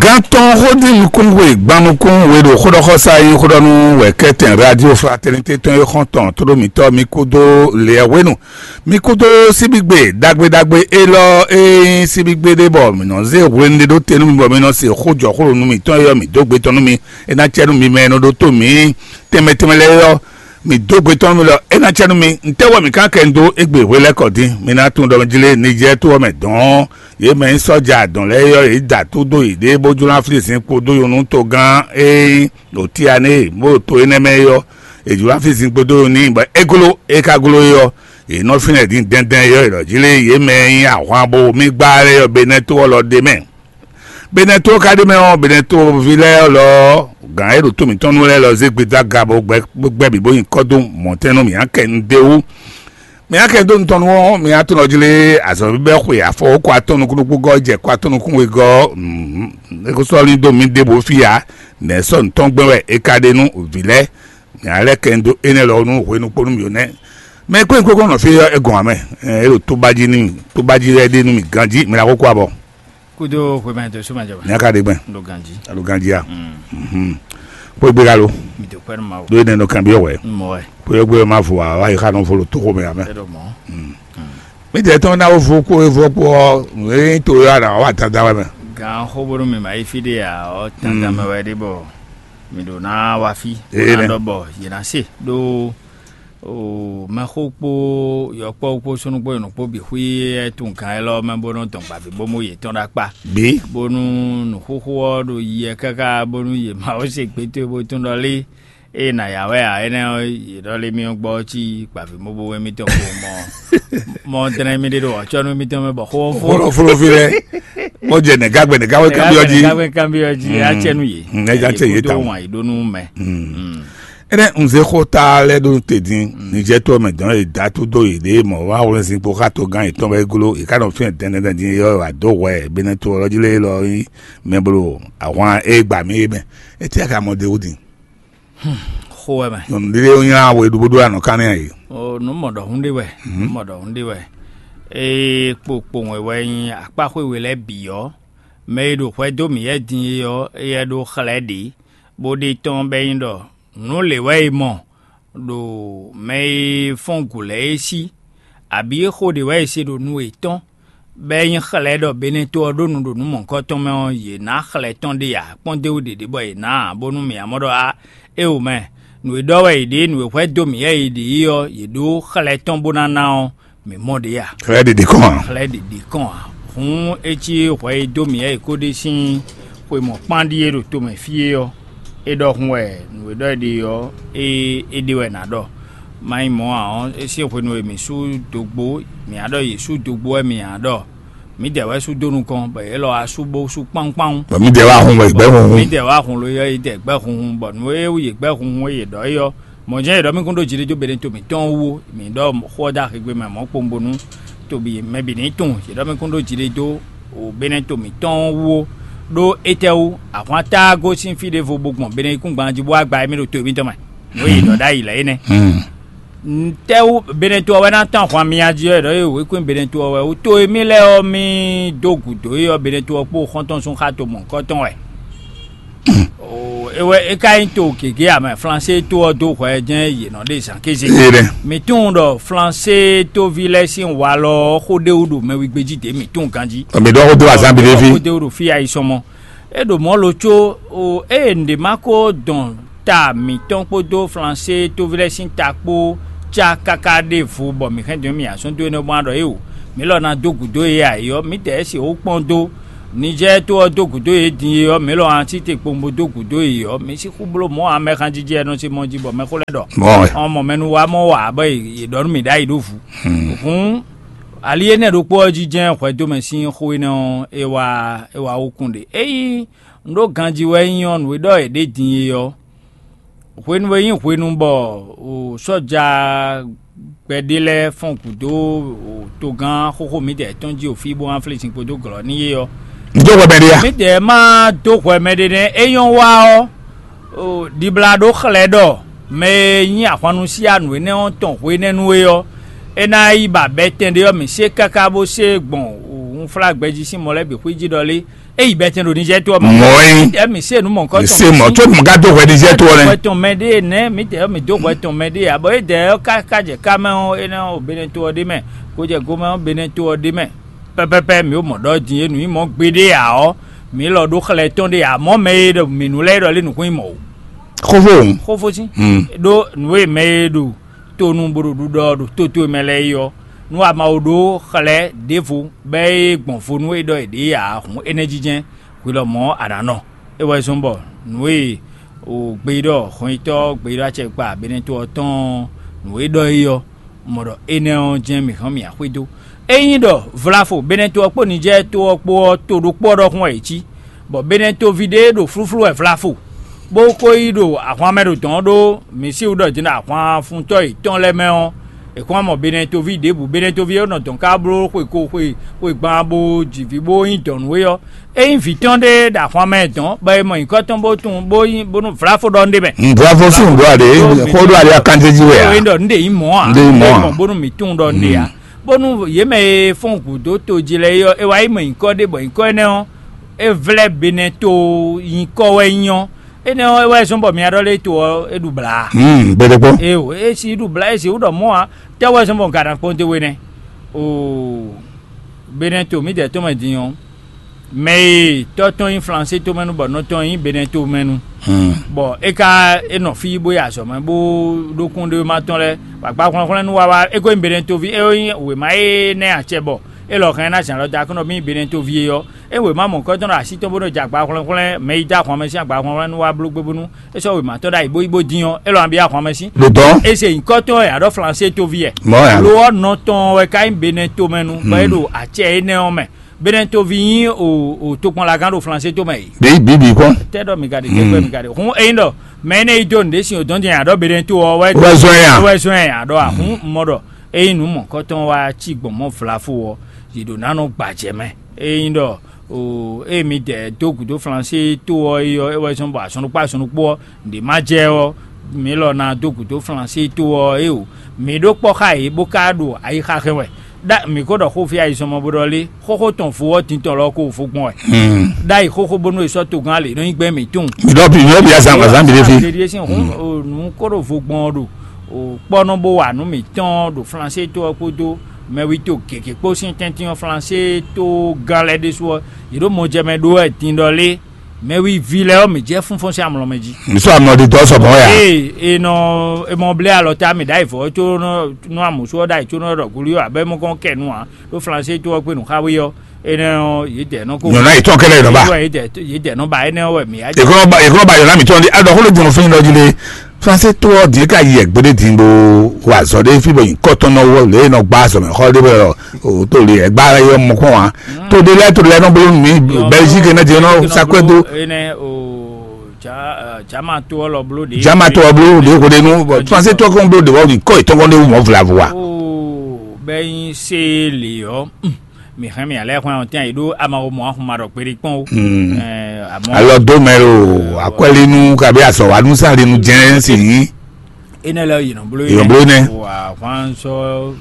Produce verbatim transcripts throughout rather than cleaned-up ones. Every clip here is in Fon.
Gantɔn xódí nukúnwe gban nukún we ɖo xóɖɔxɔsá e nyí xóɖɔnú wɛ kɛ́tɛn Radio Fraternité tɔn e xɔ́ntɔn tóɖó mǐtɔn mi kúdó lɛ̌wénu, mi kúdó síbígbe ɖagbe ɖagbe élɔ́ e nyí síbígbe ɖé bɔ mǐ nɔ zé hwenu ɖé ɖó te nú mi bɔ mi nɔ se xó jɔ xó ɖo nú mǐtɔn e ɔ́ mǐ dó gbe tɔn nú mi. É ná cɛ nú mi mɛ e nɔ ɖótó mǐ tɛnmɛ tɛnmɛ lɛ́ɛ ɔ́, mǐ dó gbe tɔn nú mi lɔ é ná cɛ nú mi. Ntɛ́ wɛ mǐ ka kɛ dó égbé hwe lɛ́ɛ kɔ dín? Mi ná tunwun ɖɔ Jlé Nijɛ́ɛ to ɔ́ mɛ dɔn ɔ́, yě mɛ nyí sɔ́ja dɔn lɛ́ɛ é ɔ́, yě da tó dó yěɖée bó jló ná flí zinkpo dó nyɔ̌nu togán e nyí ɖo Tiané bó ɖo to énɛ́ mɛ é ɔ́. È jló ná flí zinkpo dó nyɔ̌nu n'i bɔ é gló, é ka gló é ɔ́, yě nɔ fínɛ́ dín dɛ́ndɛ́n é ɔ́, è ɖɔ jí lé yě mɛ e nyí ahwan bo mì gbá lɛ́ɛ ɔ́, Benɛ́to ɔ́ lɔ ɖ'é mɛ. Benɛ́to ɔ́ ka ɖ'é mɛ ɔ́, Benɛ́toví lɛ́ɛ lɔ ɔ́, gǎn e ɖo tó mǐtɔn nu lɛ́ɛ lɔ zé gbeda ga bó gbɛ bó gbɛ bǐ bó nyi kɔ́ dó mɔ̌tɛn nú mǐ ǎ kɛ un d'é wú. Mǐ ǎ kɛ dó nutɔn nu ɔ́, mǐ ǎ tunɔ jlé azɔ̌ bíbɛ́ xwe afɔ kó atɔ́ nukúnnú gúgɔ́ jɛ kó atɔ́ nukún wegɔ́ ɔ́, é ko sɔ́ lín dó mǐ ɖěbǔ fí ǎ. Nɛ̌ sɔ́ nǔ tɔn gbɛn wɛ é ka ɖe nú vǐ lɛ́ɛ? Mǐ ǎ lɛ́ kɛ un dó énɛ́ lɔ nú hwenu kpó nú mǐ nɛ́. Mɛ e kpé un kókó nɔ fí ɔ́, é gɔn ǎ mɛ, é ɖo tóbá jí nú mì, tóbá jí wɛ é ɖe nú mì ganjí, mǐ ná kókó abɔ. Kúdó hwemɛ dó súnmɛjɔba. Ní a ka ɖe gbɛn? Ɖo ganjí. Alo ganjí a? Mhm. Kpó gbe ka lo? Mi dó kwɛ́ nú Mawu. Ɖó énɛ́ nɔ kanbyɔ́ wɛ. Mɔ wɛ. Kpó yɔ gbé ma vo a wá yi xa nɔ vo ɖo tóxo mɛ amɛ. Ɛ ɖo mɔ. Mi tɛ tɔn ná vo kó e vo kpó ɔ, é nyí to yɔ a nà wá tata wɛ mɛ. Gan xó bónú mi ma yi fí ɖé a ɔ tata mɛ wɛ ɖé bɔ mi ɖo ná wá fí. Ee Ná nɛ. Ɖɔ bɔ yě ná se ɖó o mɛxó kpó yɔkpɔ́ kpó súnú kpó yɔnɔ kpó bǐ xwí ɛ tún gǎn élɔ́ mɛ bónú dɔn gbǎví bó mú yětɔn ɖó akpá. Bí. Bónú nǔxúxú ɔ́ ɖo yiɛ káká bónú yě ma wó se gbétɔ́ bó tún ɖɔ lé ée nǎ yá wɛ ǎ énɛ́ ɔ́, yě ɖɔ lé mì gbɔ cí gbǎví mó bó wɛ mítɔn kó mɔ mɔ dlɛ́n mì ɖé ɖo ɔ̌cɔ́nú mítɔn mɛ bɔ xó ɔ́ fó. Xó ɔ́ fó fí lɛ́ɛ, bó jɛ nɛ̌gágbɛ nɛ̌gágbɛ kanbyɔ́ jí. Nɛ̌gágbɛ kanbyɔ́ jí á cɛ nú yě. Mm, é já cɛ yě Yě kúdó tawun. Wǎn yě ɖó nú mɛ. Mm. Énɛ́ un zé xó ta lɛ́ɛ ɖó te dín, Nijɛ́tɔ́ mɛ dɔn e dǎ tó dó yěɖée mɔ wá wlɛ́nzin kpó xá togán yětɔn wɛ gló, yě ká nɔ fínɛ́ dɛndɛn dín é ɔ́ wǎ dó hwɛ Benɛ́to ɔ́ jí lé élɔ́ nyí mɛ bló ahwan e gba mì é mɛ. Étɛ́ ka mɔ d'é wú din? Xó wɛ mɛ. Nyɔ̌nu ɖé ɔ́ nylá we ɖó bó ɖó anɔ kán n'i a yě. O nǔ mɔ ɖɔhun ɖé wɛ, nǔ mɔ ɖɔhun ɖé wɛ. Ée kpokpowun e wɛ nyí akpáxwé we lɛ́ɛ bǐ ɔ́, mɛ e ɖo hwɛ dó mǐ yɛ́ din é ɔ́, éyɛ́ ɖó xlɛ́ ɖě, bó ɖe tɔ́n bɔ é nyí ɖɔ nǔ lě wɛ è mɔ ɖo mɛ e fɔ́n gǔ lɛ́ɛ é sí, abǐ xó ɖě wɛ è se ɖo nu yětɔn, bɔ é nyí xlɛ́ ɖɔ Benɛ́to ɔ́ ɖó nu ɖo nǔ mɔ̌hunkɔtɔn mɛ ɔ́, yě ná xlɛ́ tɔn ɖe ǎ. Kpɔ́n d'é wú ɖě ɖě bɔ yě ná ǎ, bónú mǐ ǎ mɔ ɖɔ á, éeǒ mɛ, nǔ e ɖɔ wɛ è ɖe, nǔ e hwɛ dó mǐ wɛ è ɖe é ɔ́, yě ɖó xlɛ́ tɔn bó ná ná ɔ́, mǐ mɔ ɖě ǎ. Xlɛ́ ɖě ɖě kɔn ǎ. Xlɛ́ ɖě ɖě kɔn ǎ. Hǔn é cí hwɛ e dó mǐ wɛ è ko ɖe sín xwe mɔ̌kpán ɖíe ɖo tomɛ fí é ɔ́, é ɖɔhun wɛ nǔ e ɖɔ é ɖe ɔ́, é é ɖe wɛ nǎ ɖɔ. Má nyí mɔ̌ ǎ ɔ́, é sín hwenu e mǐ sú dogbo, mǐ á ɖɔ yě sú dogbo wɛ mǐ ǎ ɖɔ mǐdɛɛ wɛ sú dó nukɔn, bɔ yě lɔ wá sú bó sú kpáwún kpáwún. Bɔ mǐdɛɛ wá hun wɛ gbɛ́ hunhun. Mǐdɛɛ wá hun lo yɔ yě dɛ gbɛ́ hunhun, bɔ nǔ e wú yě gbɛ́ hunhun e yě ɖɔ é ɔ́, mɔ̌ jɛ́n yě ɖɔ mì kún ɖó jiɖiɖó beɖe to mǐtɔn wú ó. Mǐ ɖɔ xó ɔ́ dó axi gbe mɛ mɔ̌ kpowun bónú to bǐ mɛ bǐ ní tunwun. Yě ɖɔ mì kún ɖó jiɖiɖó o beɖe to mǐtɔn wú ó. Ɖó étɛ́wú? Ahwan táá gosín fí ɖěvo bó gbɔn beɖe yíkúngban jí bó wá gba émí ɖo to mǐtɔn mɛ. Nǔ e yě ɖɔ ɖ'ayǐ lɛ́ɛ é nɛ́. Ntɛ́wú Benɛto ɔ́ wɛ ná tɔ́n ahwan myá jí ɔ́? È ɖɔ ée wěkwín Benɛto ɔ́ wɛ wú to e mì lɛ́ɛ ɔ́ mì dó gǔdo é ɔ́, Benɛto ɔ́ kpó xɔ́ntɔn sú xá to mɔ̌hunkɔtɔn wɛ. Oo, é wɛ é ka nyí to gěgé ǎ mɛ, Flansée to ɔ́ dó hwɛ jɛ́n yě nɔ ɖe zǎn kéze. Ee ɖɛ. Mǐ tunwun ɖɔ Flansée tóví lɛ́ɛ sín walɔ ɔ́ xó ɖé wú ɖo mɛwígbé jí dě mǐ tunwun ganjí. Mǐ ɖɔ xó dó azán bǐ ɖé fí. Xó ɖé wú ɖo fí ayi sɔmɔ. É ɖo mɔ̌ lo có o, ée nǔɖé ma ko dɔn ta mǐtɔn kpódó Flansée tóví lɛ́ɛ sín ta kpó cá káká ɖěvo bɔ mǐ hɛn dɔn mì azɔn dó énɛ́ bó ná ɖɔ éeǒ, mǐ lɔ ná dó gǔdo yě ǎ é ɔ́, mǐdɛɛ é sixú kpɔ́n dó. Nijɛ́ɛ to ɔ́ dó gǔdo yě din é ɔ́, mǐ lɔ ná cí te kpowun bó dó gǔdo yě ɔ́, mǐ sixú bló mɔ̌ ǎ mɛxanjijɛ e nɔ se mɔ jí bɔ mɛxó lɛ́ɛ ɖɔ Mɔ̌ wɛ. Ɔn mɔ mɛ nu wá mɔ wǎ bɔ yě ɖɔ nú mǐ ɖ'ayǐ ɖó vǔ. Hǔn ali énɛ́ ɖokpó ɔ́ jí jɛ́n hwɛdómɛ sín xó énɛ́ ɔ́, é wá é wá wú kún ɖe. Ényí un ɖó ganjí wɛ nyí ɔ́, nǔ e ɖɔ è ɖě din é ɔ́, hwenu e nyí hwenu bɔ o sɔ́ja gbɛɖé lɛ́ɛ fɔ́n gǔdo o togán xóxó mǐdɛɛ tɔn jí o fí bó wá flísin kpódó glɔ̌ n'i é ɔ́, N dó hwɛ mɛ ɖé a? Mǐdɛɛ ma dó hwɛ mɛɖé nɛ́. É nyɔ́ wa ɔ́, o ɖibla ɖó xlɛ̌ ɖɔ mɛ e nyí ahwannusianu énɛ́ ɔ́ tɔn hwenɛ́nu é ɔ́, é ná yi ba bɛtɛn ɖé ɔ́, mǐ se káká bó se gbɔn wunflágbɛjí sín mɔ lɛ́ɛ bǐ xwíjí ɖɔ lé. É yi bɛtɛn ɖo Niger to ɔ́ mɛ. Mɔ̌ é. Ɛ mi se nu mɔ kɔ tɔn. Se mɔ tso mɔ ka do hwɛ Niger to ɔ́ nɛ. Hwɛ tɔn mɛ ɖe nɛ mi tɛ mi do hwɛ tɔn mɛ ɖe abɔ é dɛ ká ká jɛ ká mɛ ɔ́ é nɛ o bene to ɔ́ ɖe mɛ. Ko jɛ go mɛ ɔ́ bene to ɔ́ ɖe mɛ. Pɛpɛpɛ mi o mɔ ɖɔ din e nu yi mɔ gbe ɖe ya ɔ́ mi lɔ ɖo xlɛ tɔn ɖe ya mɔ mɛ e ɖɔ mi nu lɛ e ɖɔ lé nukun yi mɔ o. Xófó. Xófó sí. Ɖó nu e mɛ e ɖo tonu bó ɖo ɖuɖɔ ɖo tó towe mɛ lɛ́ɛ é ɔ́, nú a ma wo ɖó xlɛ́ ɖěvo bɔ é gbɔn vo nú é ɖɔ è ɖě ǎ, hǔn énɛ́ jínjɛ́n hwi lɔmɔ̌ a nǎ nɔ. É wɛ zɔ́n bɔ nǔ e o gbeyíɖɔ hɔnyitɔ́ gbeyíɖɔ acɛkpa Benɛto ɔ́ tɔn ɔ́, nǔ e ɖɔ é ɔ́, mɔ ɖɔ énɛ́ ɔ́ jɛ́n mǐ hɔn mì axwé dó. Ényí ɖɔ vlafo Benɛto ɔ́ kpó Nijɛ́ɛ to ɔ́ kpó ɔ́, to ɖokpó ɔ́ ɖɔhun wɛ yě cí, bɔ Benɛtoví ɖé ɖo flúflú wɛ vlafo, bó ko yi ɖo ahwan mɛ ɖo dɔ̌n ɖó mǐ sixú ɖɔ din ɖo ahwanfuntɔ́ yětɔn lɛ́ɛ mɛ ɔ́, è kɔn wá mɔ Benɛtoví ɖěbǔ. Benɛtoví e nɔ dɔn ká bló xwe ko xwe xwe gban bó ji vǐ bó nyí dɔ̌n nú we ɔ́, é nyí vǐ tɔn ɖé ɖo ahwan mɛ dɔn, bɔ è mɔ nyǐkɔ tɔn bó tunwun bó nyí bónú vlafo ɖɔ un ɖe mɛ. Nǔbláfó sín nǔɖó aɖě, xó ɖó aɖě akanjéjí wɛ ǎ. Ényí ɖɔ un ɖe nyí mɔ̌ ǎ. Un ɖe nyí mɔ̌ ǎ. Bónú mǐ tunwun ɖɔ un ɖe ǎ. Bónú yě mɛ e fɔ́n gǔdo to jí lɛ́ɛ é ɔ́, é wá yi mɔ nyǐkɔ ɖé, bɔ nyǐkɔ énɛ́ ɔ́, é vlɛ́ Benɛto nyǐkɔ wɛ nyí ɔ́, énɛ́ ɔ́, é wɛ zɔ́n bɔ mi wá ɖɔ lé to ɔ́, é ɖu blǎ. Hmm, gbeɖé kpɔ́n. Eo, é si ɖu blǎ, é si wú ɖɔ mɔ̌ ǎ. Tɛ́ wɛ zɔ́n bɔ un ka ná kpɔ́n dó we nɛ́? Oo, Benɛto mǐdɛɛ tɔn mɛ din ɔ́, mɛ e tɔ́ tɔn nyí Flansé tomɛnu bɔ nɔ tɔn nyí Benɛto mɛnu. Hmm. Bɔ é ka é nɔ fí bó yi azɔ̌ mɛ bó ɖó kún ɖé ma tɔn lɛ́ɛ, bɔ agba hwlɛ́nhwlɛ́n nú wa wá, é ko nyí Benɛtoví, é nyí wěma énɛ́ acɛ bɔ é lɔ hɛn ná zǎn lɔ da kɔn nɔ mì Benɛtoví é ɔ́, é wěma mɔ̌kɔ́tɔn ɖo así tɔn bó nɔ jɛ agba hwlɛ́nhwlɛ́n mɛ yi dó ahwan mɛ sín agba hwlɛ́nhwlɛ́n nú wá bló gbé bónú é sɔ́ wěma tɔn ɖ'ayǐ bó yi bó dín ɔ́, é lɔ nɔ byɔ́ ahwan mɛ sín. Ɖo dɔn. É se nyǐkɔ tɔn wɛ a ɖɔ Flansé toví wɛ. Mɔ̌ ya. Lo ɔ́ nɔ tɔn wɛ ka nyí Benɛto mɛ nu, bɔ é ɖo acɛ énɛ́ ɔ́ mɛ. Benɛtoví nyí o o tokpɔnlagán ɖo Flansé to mɛ yi. Bí bí bí kpɔn. Tɛ ɖɔ mi ka ɖe tɛgbɛ mi ka ɖe. Hun eyin ɖɔ mɛ énɛ́ yi dó nǔɖé sin o dɔn din a ɖɔ Benɛto ɔ́ wɛ. Wɛ zɔn ya. Wɛ zɔn ya a ɖɔ a hun mɔ ɖɔ eyin nǔ mɔ̌kɔtɔn wá cí gbɔn mɔ vlafo ɔ́, yě ɖo ná nɔ gbajɛ mɛ. Eyin ɖɔ o eye mi dɛ dó gǔdo Flansé to ɔ́ é ɔ́, é wɛ zɔn bɔ azɔn ɖokpó azɔn ɖokpó ɔ́, nǔɖé má jɛ ɔ́, mi lɔ ná dó gǔdo Flansé to ɔ́ é o. Mi ɖó kpɔ́ xá yě bó ka ɖo ayixa hɛn wɛ. Ɖa mǐ ko ɖɔ xó fí ayizɔnmɔ bó ɖɔ lé, xóxó tɔn vo ɔ́ din tɔn lɔ ko vo gbɔn wɛ. Ɖ'ayǐ xóxó bónú è sɔ́ togán lě nɔ nyí gbɛn mǐtɔn. Mi ɖɔ bi mi ɖɔ bi azan azan bi ɖe fi. Ɖeɖi sín hún nǔ kó ɖo vo gbɔn ɔ́ ɖo kpɔ́nɔ bó wa nǔ mǐtɔn ɖo Flansé to ɔ́ kpódó mɛwító gěgé kpó sín tɛ́ntin ɔ́ Flansé to gán lɛ́ɛ ɖésú ɔ́, yě ɖo mɔjɛmɛ ɖó wɛ din ɖɔ lé, mɛwíví lɛ́ɛ ɔ́ mǐ jɛ fúnfɔ́n sín amlɔ mɛ jí. Mi sɔ amlɔ ɖi dɔ sɔ bɔn ya. Ee, e nɔ e mɔ blé alɔ ta mǐ ɖ'ayǐ vɔ có nɔ nú amǔsú ɔ́ ɖ'ayǐ có nɔ ɖɔ gúlí ɔ́ abɛ mɔ kɔn kɛ nu ǎ. Ɖó Flansé to ɔ́ kpé nǔ xá wí ɔ́, énɛ́ ɔ́ yě dɛ nɔ kó. Nyɔ̌ná yětɔn kɛlɛ nɔ ba. Yě dɛ yě dɛ nɔ ba énɛ́ ɔ́ wɛ mǐ á. Yě kɔ ba yě kɔ ba yɔ̌ná mǐtɔn ɖi aɖɔ xó ló jɔn fún yín ɖɔ jí lé. Flansé to ɔ́ din ka yi ɛgbé ɖé din bó wa azɔ ɖé fí bɔ nyǐkɔ tɔn nɔ wɔ lě e nɔ gbá azɔ mɛ xɔ ɖé bɔ o tó le ɛgbá yɔ mɔ kɔn wa. To ɖé lɛ to ɖé lɛ nɔ bló nù mí Belgique ne jɛ nɔ sakwɛ do. Énɛ́ o ja jama to ɔ́ lɔ bló ɖe. Jama to ɔ́ bló ɖe ko ɖe nu bɔ Flansé to ɔ́ kɔn bló ɖe wɔ nyǐkɔ yětɔn kɔn ɖé wú mɔ vlavo wa. Bɛ nyi se le ɔ́. Mi hɛn mi alɛ hwɛn ɔtɛn yi ɖó ama wo mɔ ahun ma ɖɔ kpeɖi kpɔn o. Alɔ do mɛ o akwɛlinu kabi asɔwanu sanlinu jɛn si yi. Enɛ lɛ yìnbọn bolo yìnbọn bolo nɛ. Ahwanzɔ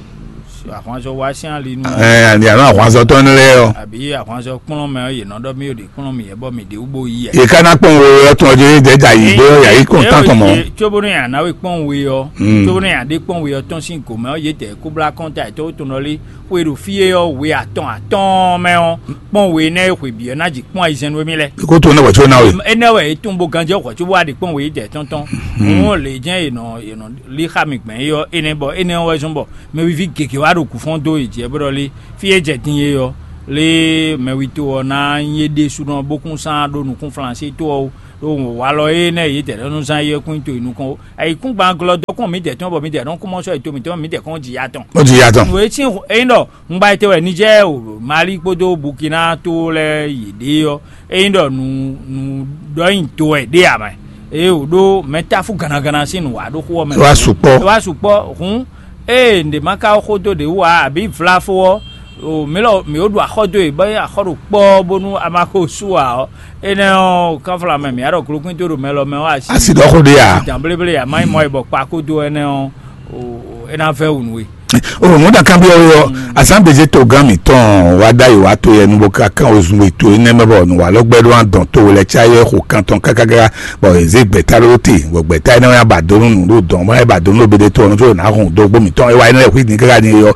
ahwanzɔ wa sian linu. Ɛ ani alo ahwanzɔ tɔn lɛ yɔ. Àbí ahwanzɔ kplɔn mɛ yìnbọn dɔ mi ò de kplɔn mi yɛ bɔ mi de wúbo yi yɛ. Ìka ná kpɔn wo yɔ tún ọjọ́ yìí dẹ́jà yìí bó yà yìí kún tán tán mọ́. Tsobónú yà náwó kpɔn we yɔ. Tsobónú yà dé kpɔn we yɔ tɔn sín gòmɛ ɔ yé tɛ kóblá kɔn ta ètò tó nɔ lé. Xwe ɖo fí e ɔ́, we atɔn atɔn mɛ ɔ́, kpɔ́n we énɛ́ e xwe bǐ ɔ́ ná ji kpɔ́n ayizɛ́n nú émí lɛ́ɛ. Kó tó nɛ wɛ̌ có ná we. Énɛ́ wɛ é tunwun bó ganjɛ xɔ có bó wá ɖi kpɔ́n we yi jɛ tɔn tɔn. Òun lě jɛ́n è nɔ è nɔ lí xá mi gbɛn é ɔ́, énɛ́ bɔ énɛ́ ɔ́ wɛ zɔ́n bɔ mɛwiví gěgé wá ɖo kǔ fɔ́n dó yě jɛ bó ɖɔ lé fí e jɛ din é ɔ́, lé mɛwito ɔ́ ná nyí é ɖésúnɔ bó kún sán ɖó nukún Flansé tó ɔ́ wú, ɖó walɔ énɛ́ yě tɛ ɖɔ nú zán é ɔ́ kún nyí to è nukɔn ó. Ayǐkúngban glɔ́ dɔkun mǐdɛɛ tɔn bɔ mǐdɛɛ nɔ kún mɔ sɔ́ è to mǐtɔn mǐdɛɛ kɔn ji ya tɔn. Ó ji ya tɔn. Nǔ e sín ényí ɖɔ un ba yi te wɛ Nijɛ́ɛ o Mali kpódó Bukina tó lɛ́ɛ yě ɖe ɔ́, ényí ɖɔ nǔ nǔ ɖɔ nyi do wɛ ɖé ǎ mɛ. Ée wǒ ɖó mɛ táfú gannagana sín nǔ wa ɖó xó ɔ́ mɛ. Wá sukpɔ́. Wá sukpɔ́ hǔn ée nɖě ma ka xó dó ɖě wú ǎ abǐ vlafó ɔ́, o mǐ lɔ mǐ ó ɖu axɔ́ dó e bɔ é axɔ́ ɖo kpɔ́ bónú a ma xo sú ǎ ɔ́, énɛ́ ɔ́, kánfla mɛ mǐ á ɖɔ glókwín tó ɖo mɛ lɔ mɛ ɔ́ asi. Asi ɖɔ xó ɖé ǎ. Dǎn bléblé ǎ má nyí mɔ e bɔ kpa kó dó ɛnɛ́ ɔ́, o É ná vɛ́ wǔ nú we. O mɔ̌ ɖa kanbyɔ́ we ɔ́, asán bězé togán mǐtɔn wá ɖ'ayǐ wá to yɛ nu bó ka kán ozun we to énɛ́ mɛ bɔ nǔwalɔ́gbɛ́ ɖó adɔn to we lɛ́ɛ cá yɛ xo kan tɔn kákáká, bɔ è zě gbɛ̌ta ɖó te, bɔ gbɛ̌ta énɛ́ wá ba dó nú nǔɖuɖu dɔn, bɔ é ba dó nú ɖo bédé to ɔ́ nú có ná hun dó gbó mǐtɔn é wá énɛ́ lɛ́ɛ xwí din káká din é ɔ́.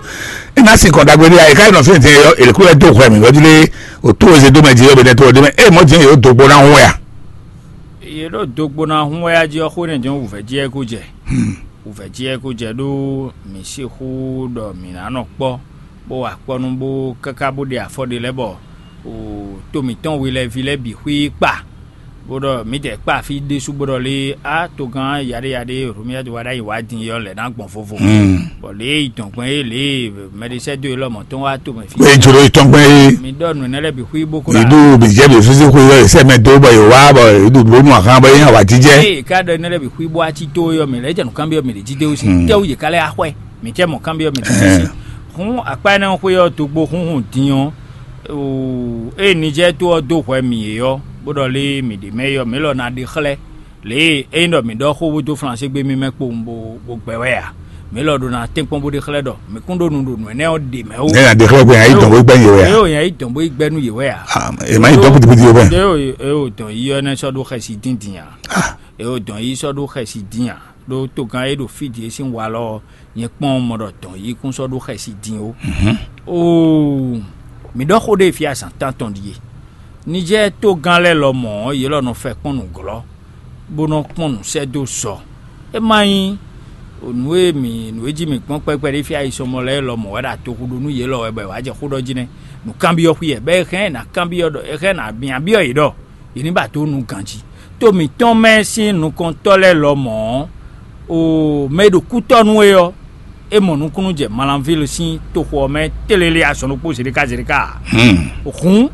É ná sin kɔn ɖagbe ɖé ǎ, é ká yi nɔ fí din é ɔ́, è lě kú lɛ́ dó hwɛ mǐ wɛ́ jí lé, o tó e zé dó mɛ jí é ɔ́, bédé to ɔ́ ɖé mɛ, é mɔ̌ din é yǒ dó gbó ná hun wɛ a? Yě ɖo dogbo ná hun wɛ a jí ɔ́, xó nɛ́ jɔ́n wǔvɛ́ jí ɛ kó jɛ. Wǔvɛ́ jí ɛ kó jɛ ɖó mǐ sixú ɖɔ mǐ ná nɔ kpɔ́, bó wa kpɔ́ nú bó káká bó ɖe afɔ ɖé lɛ́ɛ bɔ to mǐtɔn we lɛ́ɛ ví lɛ́ɛ bǐ xwí kpa, bó ɖɔ mǐdɛɛ kpa fí ɖésú bó ɖɔ lé á togán yaɖé yaɖé Romiyadu wa ɖ'ayǐ wá din ɔ́ lɛ̌ ná gbɔn vovo. Bɔ lě e yi dɔn gbɔn é lě e mɛɖisɛ́ dó e lɔmɔ̌ tɔn wá to mɛ fí. Wé jló yi tɔn gbɛn é. Mi ɖɔ nǔ énɛ́ lɛ́ɛ bǐ xwí bó kó Mǐ ɖu mǐ jɛ mǐ fífí xwe ɔ́, sɛ mɛ dó bɔ yě wá bɔ yě ɖu bló nú axán bɔ é nyí awǎjijɛ. Ée è ká ɖɔ énɛ́ lɛ́ɛ bǐ xwí bó wá cí tó é ɔ́, mǐ lɛ́ jɛ nǔ kanbyɔ́ mǐ ɖě jí dé wú sín tɛ́wú yě ká lɛ́ axwɛ. Mǐ cɛ mɔ̌ kanbyɔ́ mǐ ɖě jí sín. Hǔn akpá énɛ́ xwé ɔ́ dó gbo húnhun din ɔ́, ée Nijɛ́ɛ tó ɔ́ dó hwɛ mǐ é ɔ́, bó ɖɔ lé mǐ ɖě mɛ é ɔ́, mǐ lɔ ná ɖe xlɛ́. Lě e é nyí ɖɔ mǐ ɖɔ xó bó dó Flansé gbé mì mɛ kpowun bó bó gbɛ wɛ ǎ. Mǐ lɔ ɖo ná tɛ́nkpɔ́n bó ɖe xlɛ́ ɖɔ mǐ kún ɖó nǔ ɖo nǔ énɛ́ ɔ́ ɖě mɛ ó. Nɛ́ nya ɖe xlɛ́ gbɛn nya yí dɔn bó gbɛ́ yě wɛ a? Ée ò nya yí dɔn bó yi gbɛ́ nú yě wɛ ǎ. Ah, è má yí dɔn kúdikúdi ó bɛn. Ée ò ée ò dɔn yí ɔ́ nɛ́ sɔ́ ɖó xɛsi díndín ǎ. Ée ò dɔn yí sɔ́ ɖó xɛsi dín ǎ. Ɖó togán e ɖo fí din e sín walɔ ɔ́, nyɛ kpɔ́n mɔ ɖɔ dɔn yí kún sɔ́ ɖó xɛsi dín ó. Oo, mǐ ɖɔ xó ɖé fí azǎn tántɔn ɖíe. Nijɛ́ɛ togán lɛ́ɛ lɔmɔ̌ ɔ́, yě lɔ nɔ fɛ kpɔ́n nǔglɔ́, bó nɔ́ kpɔ́n nǔ sɛ́ dó zɔ. É má nyí nǔ e mǐ nǔ e jí mǐ gbɔn kpɛkpɛ ɖé fí ayisɔmɔ lɛ́ɛ lɔmɔ̌ wɛ ɖo atoxu ɖó nú yě lɔ wɛ bɔ è wǎ jɛ xó ɖɔ jí nɛ́. Nǔkanbyɔ́ xwí wɛ, bɔ è hɛn ɛ ná kanbyɔ́ ɖɔ è hɛn ɛ ná byɔ́ yě ɖɔ yě ní ba dó nu ganjí. To mǐtɔn mɛ sín nukɔntɔ́ lɛ́ɛ lɔmɔ̌ ɔ́, o mɛ e ɖo kútɔ́ nú é ɔ́, é mɔ nukúnnú jɛ Malanvíli sín toxo ɔ́ mɛ tlélé azɔn ɖokpó zeɖéká zeɖéká ǎ. Hǔn,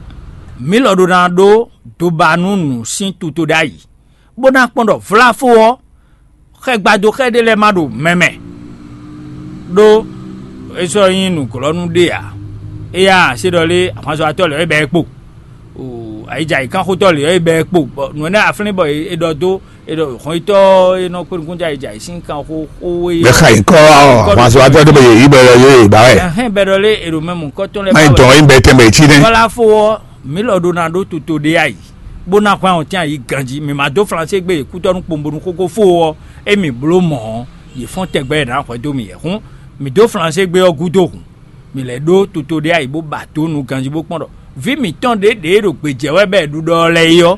mǐ lɔ ɖó ná ɖó doba nú nǔ sín tuto ɖ'ayǐ, bó ná kpɔ́n ɖɔ vláfó ɔ́, xɛgbadó xɛ ɖé lɛ́ɛ ma ɖo mɛ mɛ, ɖó é sɔ́ nyí nǔglɔ́nú ɖé ǎ. Éyá se ɖɔ lé ahwanzɔ́watɔ́ lɛ́ɛ é bɛ́ ɛ kpo, ayǐjayǐkanxotɔ́ lɛ́ɛ é bɛ́ ɛ kpo, bɔ nǔ énɛ́ aflín bɔ è ɖɔ dó è ɖɔ hɔnyitɔ́ e nɔ kpé nukúnjɛ ayǐjayǐ sín kan xó xó e Bɛ xa nyǐkɔ ɔ́, ahwanzɔ́watɔ́ ɖé bɔ yě yí bɔ yě yí ba wɛ. Ɛhɛn, bɛ ɖɔ lé è ɖo mɛ mɔ̌kɔtɔn lɛ́ɛ Má nyí ba dɔn wɛ. É bɛ tɛnbɛ cí nɛ́. Bɔlá fó ɔ́, mǐ lɔ ɖó ná ɖó toto ɖé ayǐ, bó ná hwɛ́n ɔ́ tɛ́n ayǐ ganjí. Mǐ ma dó Flansé gbé yě kútɔ́ nú kpombo nú xóxó fó ɔ́, émí bló mɔ̌ ɔ́, yě fɔ́n tɛgbɛ yě ná hwɛ̌ dó mì yɛ̌. Hǔn, mǐ dó Flansé gbé ɔ́ gúdo hǔn, mǐ lɛ́ ɖó toto ɖé ayǐ bó ba dó nu ganjí bó kpɔ́n ɖɔ vǐ mǐtɔn ɖě ɖě e ɖo gbějɛ wɛ bɔ è ɖu ɖɔ ɔ́ lɛ́ɛ é ɔ́,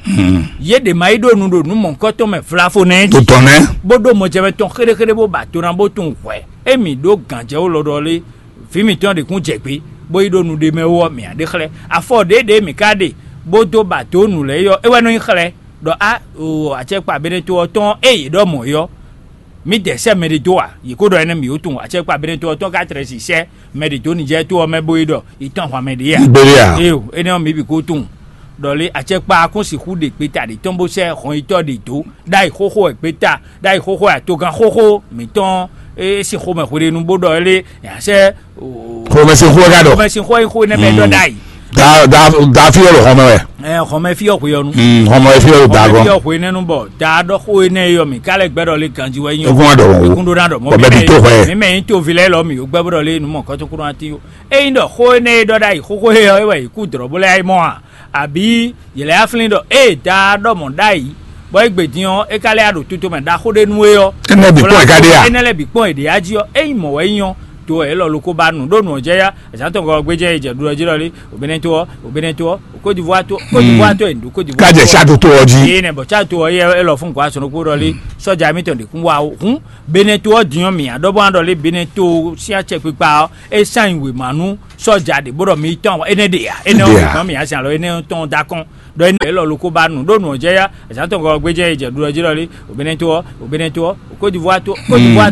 yě ɖě ma yi ɖo nu ɖo nǔ mɔ̌hunkɔtɔn mɛ vlavo nɛ́ jí, Totɔn nɛ́. Bó ɖó mɔjɛmɛ tɔn xéɖéxéɖé bó ba do ná bó tunwun hwɛ̌. Émí ɖó gǎnjɛwú lɔ ɖɔ lé, vǐ mǐtɔn ɖě kún jɛ gbé, bó yi ɖo nu ɖé mɛ wú ɔ́, mǐ á ɖe xlɛ́. Afɔ ɖěɖě mǐ ka ɖe bó dó ba dǒ nǔ lɛ́ɛ é ɔ́, é wɛ nɔ nyí xlɛ́ ɖɔ á o acɛkpa Beneto ɔ́ tɔn e yě ɖɔ mɔ̌ é ɔ́, mǐdɛɛ sɛ́ mɛɖé dó ǎ. Yě ko ɖɔ énɛ́ mǐ ó tunwun acɛkpa Beneto ɔ́ tɔn ka tlɛ si sɛ́ mɛɖé dó Nijɛ́ɛ to ɔ́ mɛ bó yi ɖɔ yi tɔn ahwan mɛ ɖě ǎ. Gbélé ǎ. Éyo, énɛ́ ɔ́ mǐ bǐ ko tunwun ɖɔ lé acɛkpa ɔ́ kún sixú ɖe gbeta ɖě tɔn bó sɛ́ hɔnyitɔ́ ɖě dó ɖ'ayǐ xóxó wɛ gbeta ɖ'ayǐ xóxó wɛ atogan xóxó mǐtɔn e sín xomɛ hweɖénu bó ɖɔ é lé nya sɛ́ Xomɛsin xó wɛ ka ɖɔ. Xomɛsin xó e xó énɛ́ mɛ ɖɔ ɖ'ayǐ. Da da da fí ɔ́ ɖo xɔmɛ wɛ. Ɛ xɔmɛ fí ɔ́ hwe ɔ́ nu. Mm, xɔmɛ fí ɔ́ ɖo da Xɔmɛ gɔn. Fí ɔ́ hwe énɛ́ nu bɔ da ɖɔ xó énɛ́ e ɔ́ mǐ ka lɛ́ gbɛ́ ɖɔ lé ganjí wɛ nyí. Ekún wá ɖɔ wɔ wo. Ekún ɖó ná ɖɔ mɔ Bɔ bɛ bi tó xwɛ. Mí mɛ nyí toví lɛ́ɛ lɔ mǐ yó gbɛ́ bó ɖɔ lé nu mɔ kɔ́tɔn kúrò ná tí ó. Ényí ɖɔ xó énɛ́ e ɖɔ ɖ'ayǐ xóxó he ɔ́ é wɛ yě kú dlɔ̌ bó lɛ́ yá yi mɔ a? Abǐ yě lɛ́ yá flín ɖɔ ée da ɖɔ mɔ̌ ɖ'ayǐ, bɔ é gbe din ɔ́, é ka lɛ́ yá ɖo tuto mɛ ɖaxó ɖé nú é ɔ́, Énɛ́ bǐ kpɔ́n è ka ɖe a? Énɛ́ lɛ́ɛ bǐ kpɔ́n è ɖě yá jí ɔ́, ényí mɔ̌ wɛ é nyí ɔ́, to wɛ élɔ́ ló kó ba nu ɖó nu ɔ́ jɛ yá. Azǎn tɔn gɔ́ gbéjɛ è jɛ ɖu ɔ́ jí ɖɔ lé, Benin to ɔ́, Benin to ɔ́, Côte d'Ivoire to, Côte d'Ivoire to è nǔ ɖó Côte d'Ivoire. Ká jɛ sá toto ɔ́ jí. Énɛ́ bɔ sá to ɔ́ yɛ élɔ́ fún gɔ̌ asɔn ɖokpó ɖɔ lé, sɔ́ja émítɔn ɖě kún wá ó. Hǔn Benin to ɔ́ din ɔ́ mǐ ǎ ɖɔ bó ná ɖɔ lé Benin to sín acɛkpikpa ɔ́, é sán nyi wěma nú sɔ́ja ɖě bó ɖɔ mi tɔn énɛ́ ɖe ǎ, énɛ́ ɔ́ Ɖe ǎ. Mǐ tɔn mǐ azin alɔ énɛ́ tɔn dó akɔn ɖɔ énɛ́ élɔ́ ló kó ba nǔ ɖó nǔ ɔ́ jɛ yá. Azǎn tɔn gɔ́ gbéjɛ è jɛ ɖu ɔ́ jí ɖɔ lé, Benin to ɔ́, Côte d'Ivoire to, Côte d'Ivoire